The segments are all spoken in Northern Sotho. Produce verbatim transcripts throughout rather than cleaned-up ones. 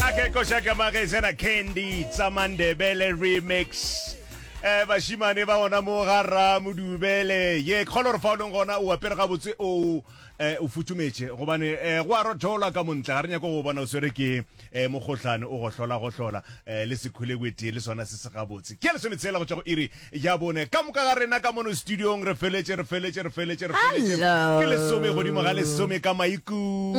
Ake koša ka magesena Candy Tsamandebele remix. Eh bashimane ba ona mo ga Ramodubele. Ye kgolo re fa o leng gona o apere gabotse o eh o futhumetše gobane eh go a rothola ka montle ga re nyako go bona o swere ke eh mokgohlane o gohlola gohlola eh le sekhwelewete le sona se se gabotse. Ke lesometshela go tšwa go iri ya bone ka moka ga rena ka mono studiong re feletše re feletše re feletše re feletše Hello. ke lesome godimo ga lesome ka maikutlo.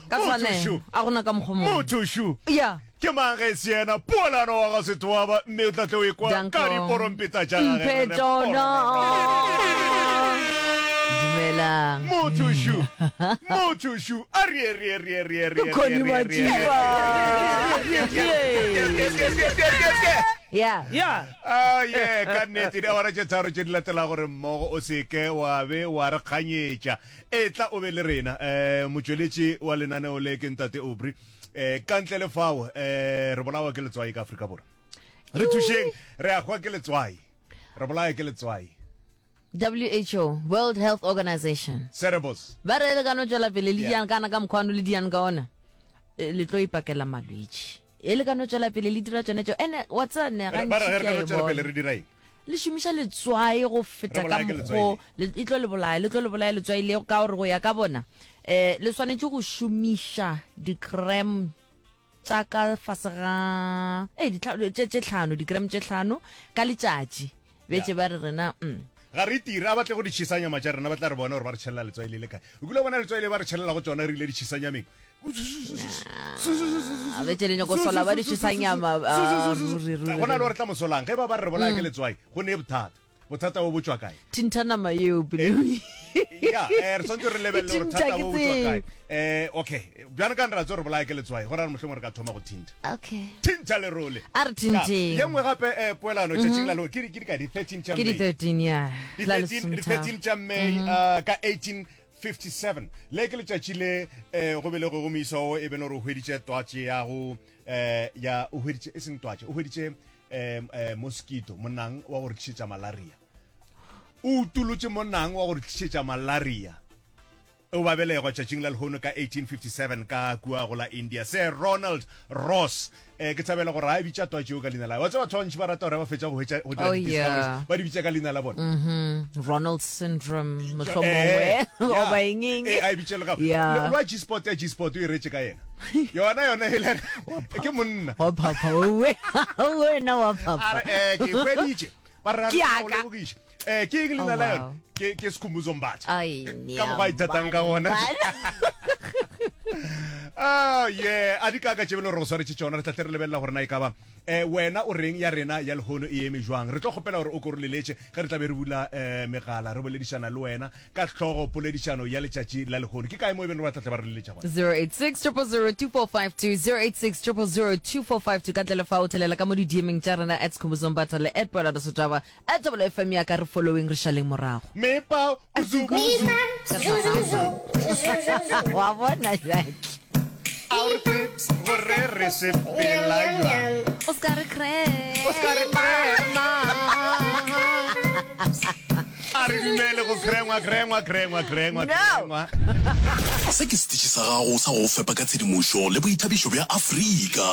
Ka Motho tshwanelo šo. a gona ka mokgwa mongwe Motho šo. ya Ke mang ge se yena Poelano wa ga Sethoaba mme o tla tle o ekwa Danko. ka diporompeta tša gage mphe re re tšona porororo. dumelang Motho šo. Motho šo. A re re re re re Ke Connie Majiba. ya ya Ah, ye ka nnete diawara tše tharo tše di latela gore mmogo o seke wa be wa re kganyetša e tla o be le rena um motšweletši wa lenaneo le ke ntate Aubrey um ka ntle le fao um re bolawa ke letswai ka Afrika Borwa re thušeng re a hwa ke letswai re bolaya ke letswai W H O, World Health Organization, cerebos ba re le ka no tšwela pele le Yeah. diang kana ka mokgwano le diang ka ona, eh, le tlo ipakela malwetši e le ka no tšwela pele le dira tsone tšeo ene wa tsene ba re ge re ka no gantši ke a e tšwela pele bona. re dira eng? Le šomiša letswai go feta Re ka bolaya ke letswai mokgo le- e tlo le bolaya, le tlo le bolaya letswai le ka gore go ya ka bona um le swanetše go šomiša di-gram tša ka fase ga e tše tše tlhano, di-gram tše tlhano ka letšatši betse ba re rena mm. Ga re tire a batle go di tšhisanyama tša rena, ba tla re bona gore ba re tšhelela letswai le le kae. O kile wa bona letswai le ba re tšhelela go tsona re ile ditšhisanyameng? A betse le nyako sola ba di tšhisanyama, ah, ruri, ruri, Go na le gore tla mosolang ge ba ba re re bolaya ke letswai go ne bothata bothata bo bo tswa kae? Thintha nama eo pele. Ya, eh, re tshwanetse re lebelele gore Thintha thata ke bo bo tswa kae. tseo. eh okay bjana ka re tse re bolaya ke letswai go ra re mohlomong re ka thoma go thintha. Okay. Thintha lerole. A re thintheng. Ye nngwe gape, eh poelano tšatšing la lo ke di ke di ka di thirteen tša Ke di May. thirteen ya Di la thirteen di lesometharo. thirteen tša May uh, ka eighteen fifty-seven le ke letšatši le eh, go belegwego moisa o e bene gore o hweditše twatše ya go eh, ya o hweditše e seng twatše, o hweditše eh, eh, mosquito, monang wa go re tlišetša malaria. O utolotše monang wa go re tlišetša malaria. O ba belegwa tšatšing la lehono ka eighteen fifty-seven ka kua go la India, Sir Ronald Ross. eh ke thabela gore a e bitša twatše eo ka leina la wa tseba batho ba bantši ba rata gore ba fetša go hwetša go dira Oh, di-discoveries, yeah. ba di bitša ka leina la bona. Mhm. Ronald syndrome Eh, mohlomongwe yeah. goba eng eng. Eh, a e bitše le gape. Yeah. Le- lwa G-spot ya G-spot o e retše ka yena yona yona e le ke monna. Wa phapha owe, wena wa A phapha. re eh ke hweditše ba re Ke a aka. lebogiša eh ke eng leina Oh, la wow. yona? Ke ke Sekhumbuzo Mbatha. Ai, Ka mokgwa a ithatang ka gona. Ah, yeah, a di kaka tše bele gore go swaretše tšona. Re tlatle re lebelela gore na e ka ba eh wena o reng, ya rena ya lehono e eme jwang. Re tlo kgopela gore o ko re leletše ge re tla be re bula eh megala re boledišana le wena ka hlogo poledišano ya letšatši la lehono. Ke kae mo e beng re ba tlatle ba re leletša gona? zero eight six zero zero two four five two, zero eight six zero zero two four five two. Ka ntle le fa o thelela ka mo di-D M-eng tša rena at Sekhumbuzo Mbatha le at Poelano Setaba, at Double F M ya ka re following, re šaleng morago. Mepa uzubuzu. Wa bona jake. A re tsebe gore re sepela jwang. O ska re O ska re krema. A re dumele go krengwa, krengwa, krengwa, krengwa. No. Krengwa. Se ke setiši sa gago sa go fepa ka tshedimošo le boithabišo bja Afrika.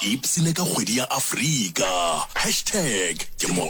Ipsene ka kgwedi ya Afrika. Hashtag ke mo.